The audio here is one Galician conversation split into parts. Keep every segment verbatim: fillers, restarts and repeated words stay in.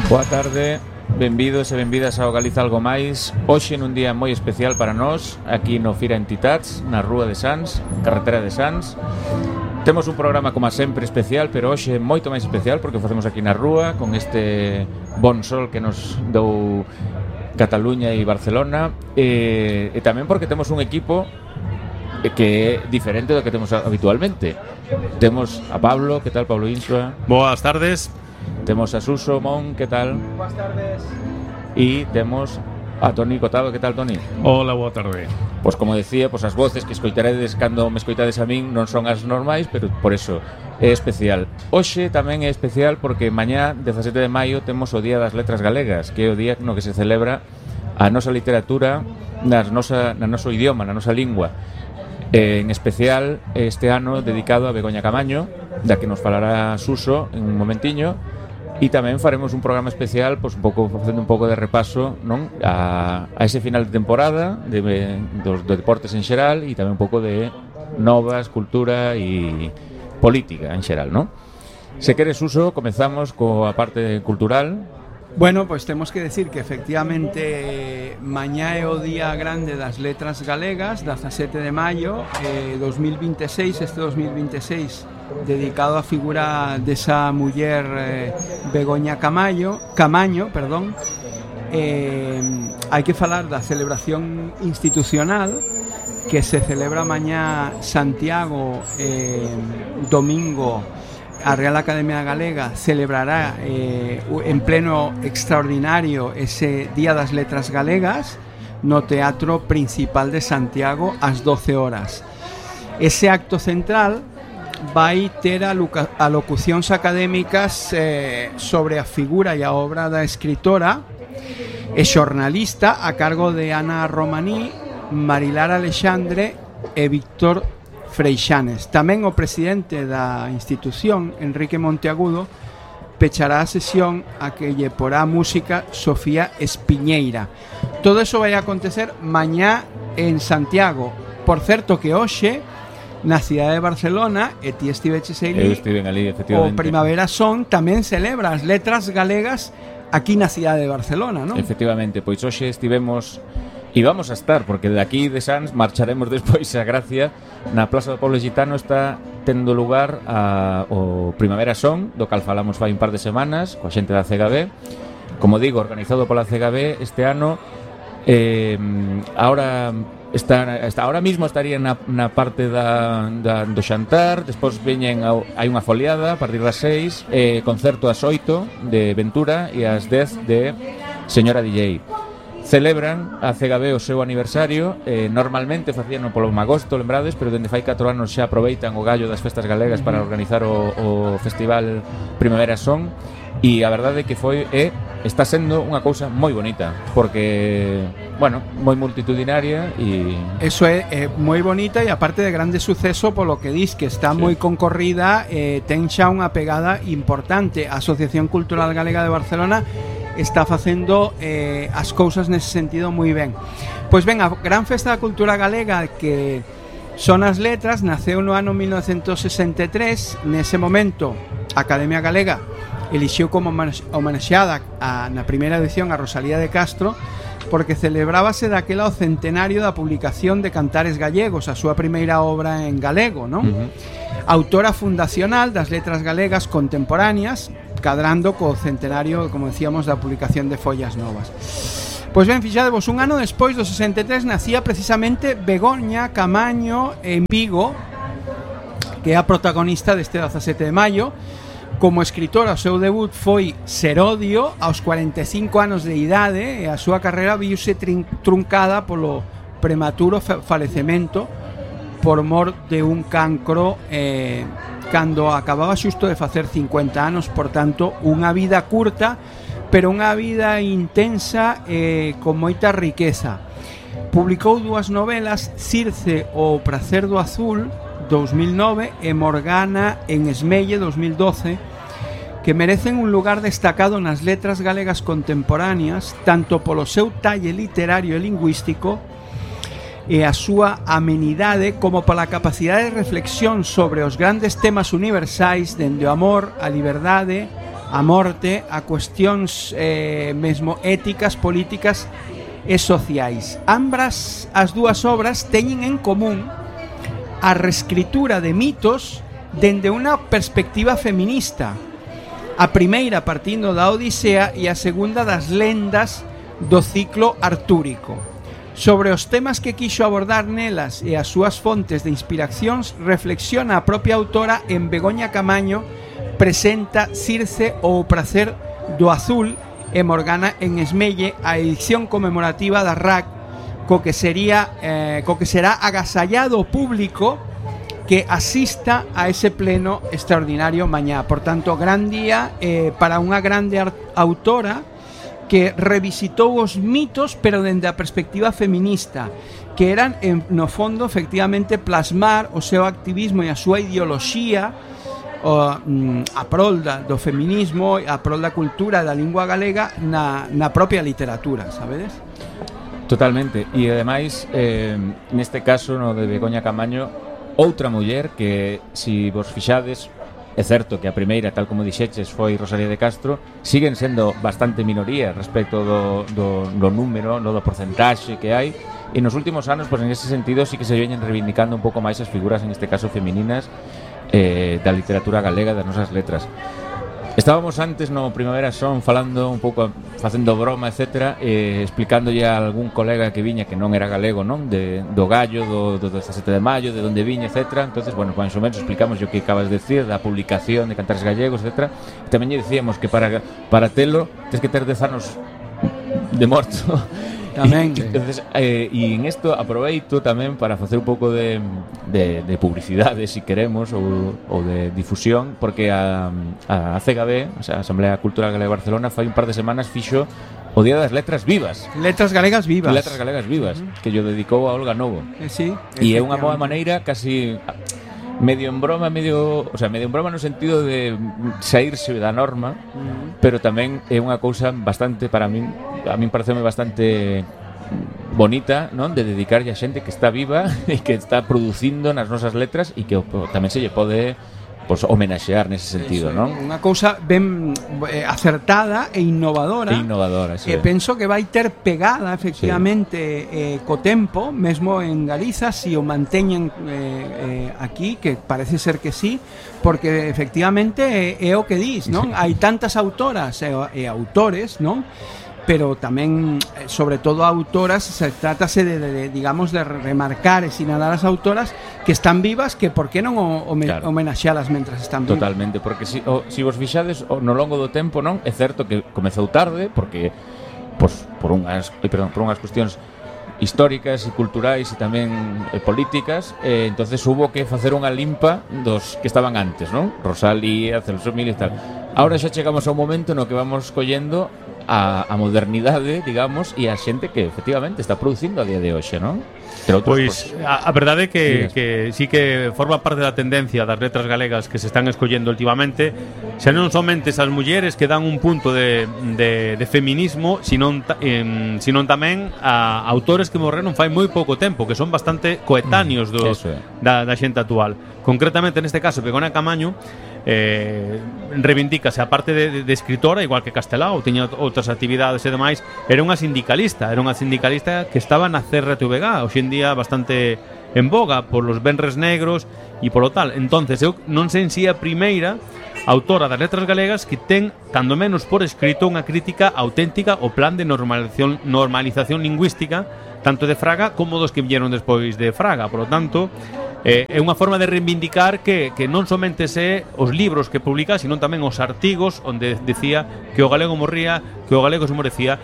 Boa tarde, benvidos e benvidas ao Galiza Algo Máis. Hoxe nun día moi especial para nós, aquí no Fira Entitats, na Rúa de Sants, carretera de Sants. Temos un programa, como sempre, especial, pero hoxe moito máis especial porque o facemos aquí na rúa, con este bon sol que nos dou Cataluña e Barcelona, e, e tamén porque temos un equipo que é diferente do que temos habitualmente. Temos a Pablo, que tal, Pablo Insua? Boas tardes. Temos a Suso Mon, que tal? Boas tardes. E temos a Toni Cotado, que tal, Toni? Hola, boa tarde. Pois como decía, pois as voces que escoitaredes cando me escoitades a min non son as normais, pero por eso é especial. Hoxe tamén é especial porque mañá, dezasete de maio, temos o Día das Letras Galegas, que é o día no que se celebra a nosa literatura nas nosa, na noso idioma, na nosa lingua. Eh, en especial este ano dedicado a Begoña Camaño, da que nos falará Suso en un momentiño. E tamén faremos un programa especial, pois un pouco facendo un pouco de repaso, non, a, a ese final de temporada de, dos, de deportes en xeral e tamén un pouco de novas, cultura e política en xeral, non? Se queres, Uso, comezamos coa parte cultural. Bueno, pois pues temos que decir que efectivamente mañá é o día grande das letras galegas, dezasete de maio eh, dos mil veintiséis, este dos mil veintiséis dedicado á figura desa muller eh, Begoña Camaño, Camaño, perdón. Eh, hai que falar da celebración institucional que se celebra mañá Santiago, eh, domingo. A Real Academia Galega celebrará eh, en pleno extraordinario ese Día das Letras Galegas no Teatro Principal de Santiago ás doce horas. Ese acto central vai ter alocucións académicas eh, sobre a figura e a obra da escritora e xornalista a cargo de Ana Romaní, Marilar Alexandre e Víctor Freixanes. Tamén o presidente da institución, Enrique Monteagudo, pechará a sesión a que lle porá música Sofía Espiñeira. Todo eso vai acontecer mañá en Santiago. Por certo que hoxe na cidade de Barcelona, e ti estiveches aí, ali, efectivamente. O Primavera Son tamén celebra as letras galegas aquí na cidade de Barcelona, non? Efectivamente, pois hoxe estivemos e vamos a estar, porque de aquí de Sants marcharemos despois a Gracia. Na Plaza do Pueblo Gitano está tendo lugar a, o Primavera Son, do cal falamos fai un par de semanas coa xente da C G B. Como digo, organizado pola C G B este ano. eh, Ahora está, está, ahora mismo estaría na, na parte da, da, do xantar. Despois veñen a, hai unha foliada a partir das seis, eh, concerto ás oito de Ventura e ás dez de Señora D J. Celebran a C G B o seu aniversario. eh, Normalmente facíano polo agosto, lembrades, pero dende fai catro anos xa aproveitan o gallo das festas galegas para organizar o, o festival Primavera Son. E a verdade é que foi e está sendo unha cousa moi bonita, porque, bueno, moi multitudinaria e... Eso é, é moi bonita e aparte de grande suceso polo que dis que está sí. moi concorrida, eh, ten xa unha pegada importante. A Asociación Cultural Galega de Barcelona está facendo eh, as cousas nese sentido moi ben. Pois ben, a gran festa da cultura galega que son as letras naceu no ano mil novecentos sesenta e tres. Nese momento a Academia Galega elixiu como homenaxeada a, na primeira edición a Rosalía de Castro, porque celebrábase daquela o centenario da publicación de Cantares Gallegos, a súa primeira obra en galego, non? Uh-huh. Autora fundacional das letras galegas contemporáneas, cadrando co centenario, como decíamos, da publicación de Follas Novas. Pois ben, fixadevos, un ano despois do sesenta e tres nacía precisamente Begoña Camaño en Vigo, que é a protagonista deste dezasete de maio. Como escritora, o seu debut foi Serodio aos cuarenta e cinco anos de idade, e a súa carreira viuse truncada polo prematuro falecemento por mor de un cancro eh, cando acababa xusto de facer cincuenta anos. Por tanto, unha vida curta, pero unha vida intensa e eh, con moita riqueza. Publicou dúas novelas, Circe o Prazer do Azul dos mil nove e Morgana en Esmelle dos mil doce, que merecen un lugar destacado nas letras galegas contemporáneas, tanto polo seu talle literario e lingüístico e a súa amenidade, como pola capacidade de reflexión sobre os grandes temas universais, dende o amor, a liberdade, a morte, a cuestións eh, mesmo éticas, políticas e sociais. Ambas as dúas obras teñen en común a reescritura de mitos dende unha perspectiva feminista. A primeira partindo da Odisea e a segunda das lendas do ciclo artúrico. Sobre os temas que quixo abordar nelas e as súas fontes de inspiracións reflexiona a propia autora en Begoña Camaño, presenta Circe ou o prazer do azul e Morgana en Esmelle, a edición conmemorativa da R A C, co que sería eh, co que será agasallado o público que asista a ese pleno extraordinario mañá. Por tanto, gran día eh, para unha grande autora que revisitou os mitos, pero dende a perspectiva feminista, que eran, en, no fondo, efectivamente, plasmar o seu activismo e a súa ideoloxía o, mm, a prol da, do feminismo, a prol da cultura da lingua galega na, na propia literatura, sabedes? Totalmente. E, ademais, eh, neste caso, no de Begoña Camaño, outra muller que, si vos fixades, é certo que a primeira, tal como dixeches, foi Rosalía de Castro, siguen sendo bastante minoría respecto do, do, do número, no, do porcentaxe que hai, e nos últimos anos, pues, en ese sentido, sí que se veñen reivindicando un pouco máis as figuras, en este caso femininas, eh, da literatura galega, das nosas letras. Estábamos antes no Primavera Son falando un pouco, facendo broma, etcétera, eh, explicándolle a algún colega que viña que non era galego, non? De, do gallo, do, do dezasete de maio, de onde viña, etcétera. Entonces, bueno, máis ou menos explicamos o que acabas de decir da publicación de Cantares Gallegos, etcétera. E tamén lle dicíamos que para, para telo tens que ter dez anos de morto. Tamén. Entonces, eh, e en isto aproveito tamén para facer un pouco de, de, de publicidade, se si queremos, ou, ou de difusión, porque a, a C G B, o sea, a Asamblea Cultural Galega de Barcelona, fai un par de semanas fixo o Día das Letras Vivas. Letras Galegas Vivas. Letras Galegas Vivas, uh-huh. que yo dedicou a Olga Novo. Eh, sí, e é unha boa maneira, casi medio en broma, medio, o sea, medio en broma no sentido de saírse da norma, uh-huh. pero tamén é unha cousa bastante, para min, a min pareceme bastante bonita, non? De dedicarlle a xente que está viva e que está producindo nas nosas letras e que tamén se lle pode, pues, homenaxear nese sentido, non? Unha cousa ben eh, acertada e innovadora. E innovadora, sí. E penso que vai ter pegada, efectivamente, sí. eh, co tempo, mesmo en Galiza, si o manteñen eh, eh, aquí, que parece ser que sí, porque efectivamente é, é o que dis, non? Hai tantas autoras e, e autores, non? Pero tamén, sobre todo autoras, se trátase de, de, de, digamos, de remarcar e sinalar as autoras que están vivas, que por que non o, o, claro. homenaxealas mentras están vivas. Totalmente, porque si, o, si vos fixades o, no longo do tempo, non, é certo que comezou tarde, porque pues, por unhas, perdón, por unhas cuestións históricas e culturais e tamén e políticas, eh, entonces hubo que facer unha limpa dos que estaban antes, non? Rosalía, Celso Mil e tal. Ahora xa chegamos a un momento no que vamos collendo a, a modernidade, digamos, e a xente que efectivamente está producindo a día de hoxe, non? Pois a, a verdade é que, que sí que forma parte da tendencia das letras galegas que se están escollendo últimamente, xa non somente esas mulleres que dan un punto de, de, de feminismo, sino, eh, sino tamén a autores que morreron fai moi pouco tempo, que son bastante coetáneos do, mm, da, da xente actual. Concretamente, neste caso, Begoña Camaño eh, reivindícase a parte de, de, de escritora, igual que Castelao, tiña outras actividades e demais, era unha sindicalista, era unha sindicalista que estaba na C R T V G, hoxe en día bastante en boga por los venres negros e polo tal. Entonces, eu non sei en si a primeira autora das letras galegas que ten, cando menos por escrito, unha crítica auténtica ao plan de normalización, normalización lingüística, tanto de Fraga como dos que vieron despois de Fraga. Por lo tanto, eh, é unha forma de reivindicar que, que non somente se os libros que publica, sino tamén os artigos onde decía que o galego morría, que o galego se morecía.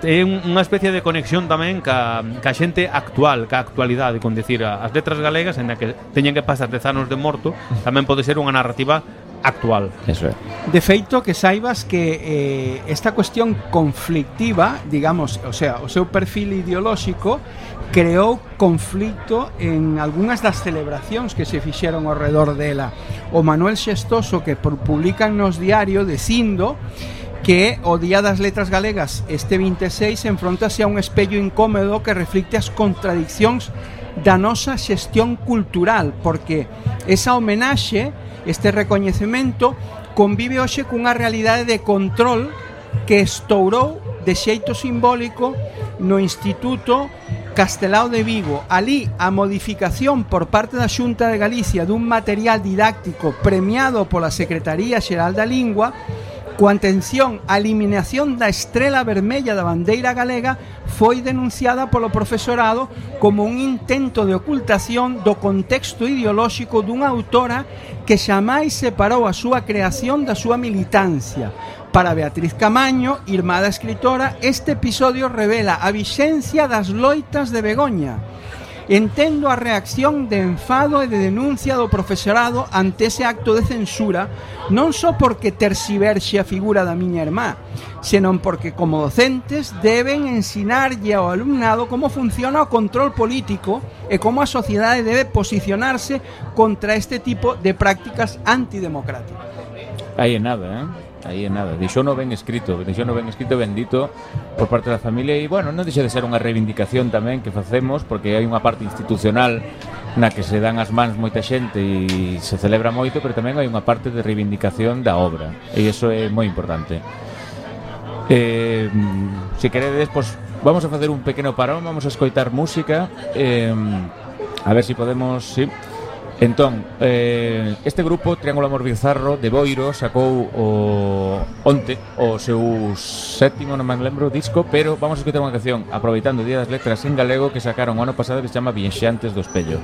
É unha especie de conexión tamén ca, ca xente actual, ca actualidade, con decir as letras galegas, en a que teñen que pasar dez anos de morto, tamén pode ser unha narrativa actual. Eso é. De feito, que saibas que eh, esta cuestión conflictiva, digamos, o sea, o seu perfil ideolóxico creou conflicto en algunhas das celebracións que se fixeron ao redor dela. O Manuel Xestoso, que publican nos diario dicindo que o Día das Letras Galegas este vinte e seis enfrontase a un espello incómodo que reflicte as contradiccións da nosa xestión cultural, porque esa homenaxe, este recoñecemento, convive hoxe cunha realidade de control que estourou de xeito simbólico no Instituto Castelao de Vigo. Alí a modificación por parte da Xunta de Galicia dun material didáctico premiado pola Secretaría Xeral da Lingua, coa atención á eliminación da estrela vermella da bandeira galega, foi denunciada polo profesorado como un intento de ocultación do contexto ideolóxico dunha autora que xamais separou a súa creación da súa militancia. Para Beatriz Camaño, irmá da escritora, este episodio revela a vixencia das loitas de Begoña. Entendo a reacción de enfado e de denuncia do profesorado ante ese acto de censura, non só porque terxiverxe a figura da miña irmá, senón porque como docentes deben ensinarlle ao alumnado como funciona o control político e como a sociedade debe posicionarse contra este tipo de prácticas antidemocráticas. Aí é nada, eh? Aí é nada, deixou no ben escrito, deixou no ben escrito, bendito por parte da familia. E bueno, non deixa de ser unha reivindicación tamén que facemos, porque hai unha parte institucional na que se dan as mans moita xente e se celebra moito, pero tamén hai unha parte de reivindicación da obra, e iso é moi importante. Eh, se queredes, pues, vamos a facer un pequeno parón, vamos a escoitar música, eh, a ver se si podemos, sí. Entón, eh, este grupo Triángulo Amor Bizarro de Boiro sacou o onte o seu sétimo, non me lembro, disco, pero vamos a escoitar unha canción aproveitando o Día das Letras en galego que sacaron o ano pasado que se chama Viaxantes do Espello.